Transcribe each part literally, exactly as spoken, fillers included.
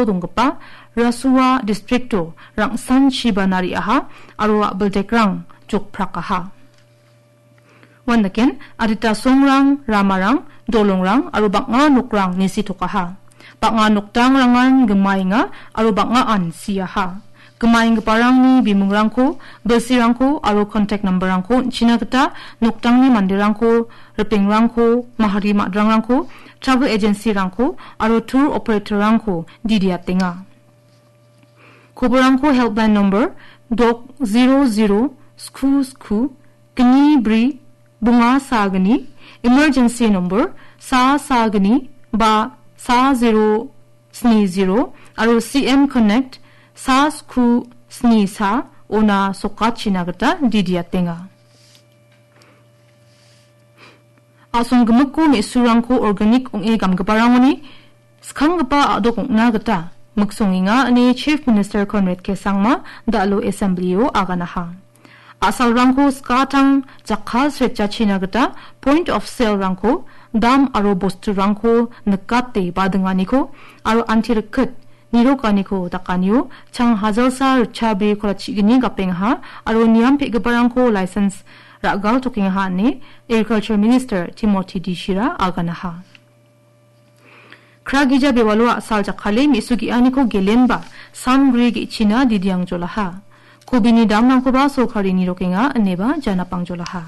donggipa Rasua distrikto rangsanchiba nariaha aro a·bildekrang jokprakaha. Uandaken adita songrang, ramarang, dolongrang aro bang·a nokrang nisitokaha. Bang·a noktangrangan gimaenga aro bang·aan siaha. Gimaenggiparangni bimungrangko, bilsirangko aro contact numberrangko on·china gita noktangni manderangko, ripengrangko, mahari ma·drangko, travel agencyrangko aro tour operatorrangko didiatenga. Koborangko helpline number dok zero zero sku sku gni bri bunga sa gni, emergency number sa sa gni ba sa zero sni zero aro C M Connect sa sku sni sa ona sokachina gita didiatenga. A·songgimikko me·surangko organic ong·e gamgiparangoni skanggipa a·dok ong·na gita miksongenga ine Chief Minister Conrad K Sangma da·alo Assembly-o aganaha. A·salrangko skatang jakka sretjachina gita point of sale-rangko, dam aro bosturangko nikate badinganiko aro anti rikit nirokaniko dakanio chang hajalsa ritchabri kolatchigni gapengaha aro niam pe·giparangko license ra·galtokengaha ine Agriculture Minister Timothy D Shira aganaha. Kragija bewalo a·sal jakkale me·su ge·aniko gelenba samgri ge·china didiangjolaha. Kobini damrangkoba sorkarini rokenga ineba janapangjolaha.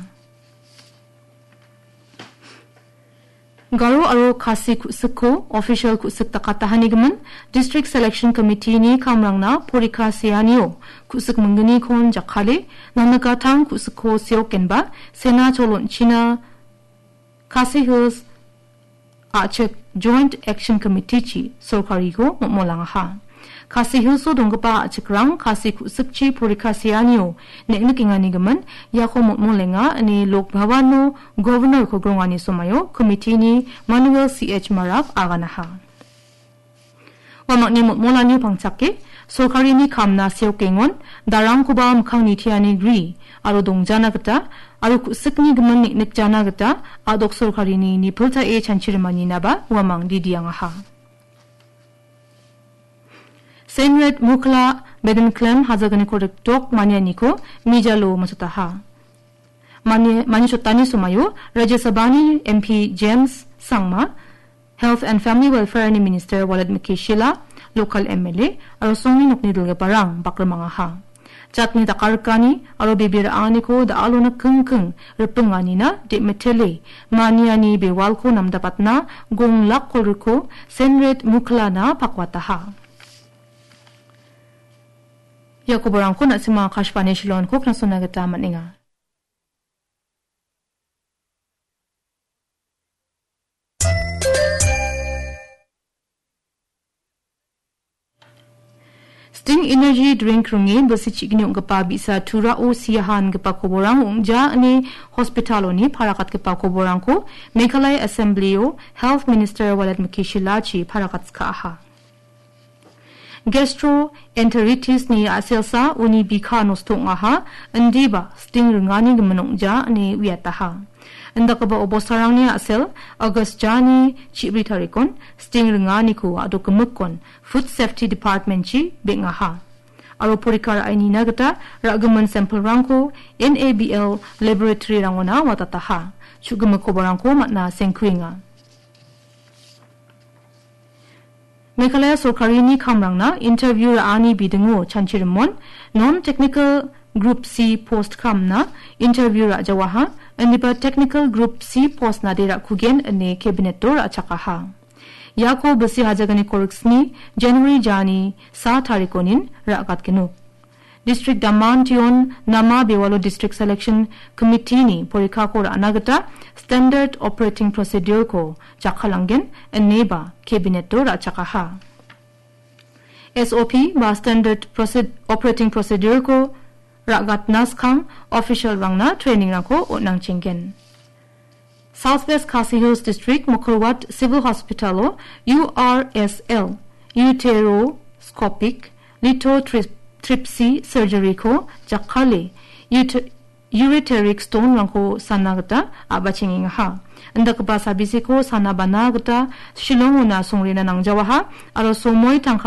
Garo aro Khasi ku·sikko official ku·sik dakatahanigimin District Selection Committee-ni kamrangna porikha seanio ku·sik mingginikon jakkale, nangnikatang ku·sikko seokenba sena cholonchina Khasi Hills a·chik Joint Action Committee-chi sorkariko motmolangaha. Khasi Hills-o donggipa a·chikrang Khasi ku·sikchi porikha seanio neng·nikenganigimin iako motmolenga ine Lok Bhavan-o Governor-ko grongani somaio committee-ni Manuel C H Marak aganaha. Uamangni motmolanio pangchake, sorkarini kamna seokengon, darangkoba mikkangni teani gri aro dongjana gita aro ku·sikni gimin neng·nikjana gita a·dok sorkarini nipiltae chanchirimaninaba uamang didiangaha. Senret Mukla Bedengklem hajalgniko rikdok manianiko mijalo masotaha. Mani-, manichotani somaio Rajya Sabhani M P James Sangma, Health and Family Welfare-ni Minister Walid Mukeshila, local M L A aro songni nokni dilgiparang bakrimangaha. Jatni dakarikani aro bebe ra·aniko da·alona kingking ripinganina de·mitele maniani bewalko namdapatna gong lak kolgrikko Senret Muklana pakwataha. Ia koborangko na·sima Akashvani Shillongko knasona gita man·enga. Sting Energy Drink ringe bilsi chi·gni ong·gipa bi·sa Turao siaha ingipa koborang ong·ja ine hospitaloni parakatgipa koborangko Meghalaya Assembly-o Health Minister Walid Mukeshilachi parakatskaaha. Gastroenteritis-ni a·selsa uni bikha nosto ong·aha, indiba sting ringani gimin ong·ja ine uiataha. Indakgipa obostarangni a·sel August jani chibri tarikon sting ringaniko a·dok gimikkon Food Safety Department-chi beng·aha. Aro porikha ra·e nina gita ra·gimin samplerangko N A B L laboratory-rangona watataha. Chu·gimik koborangko man·a sengkuenga. Meghalaya sorkarini kamrangna interview ra·ani bidingo chanchirimon non-technical Group C post kamna interview ra·jawaha, indiba technical Group C post nade ra·kugen ine cabinet-o ra·chakaha. Iako bilsi hajalgniko riksni January jani sa tarikonin ra·gatgenuk. District Damantion Nama Bewalo District Selection Committee-ni porikhako ra·na gita Standard Operating Procedure-ko jakkalanggen ineba cabinet-o ra·chakaha. S O P ba Standard Proced-, Operating Procedure-ko ra·gatna skang official-rangna training-rangko on·angchenggen. South West Khasi Hills District Mawkyrwat Civil Hospital-o U R S L, uteroscopic lithotrip-, tripsy surgery-ko jakkale ut-, ureteric stone-rangko sana gita a·bachengengaha. Indakgipa sabiseko sana bana gita Shillong-ona songrena nangjawaha aro somoi tangka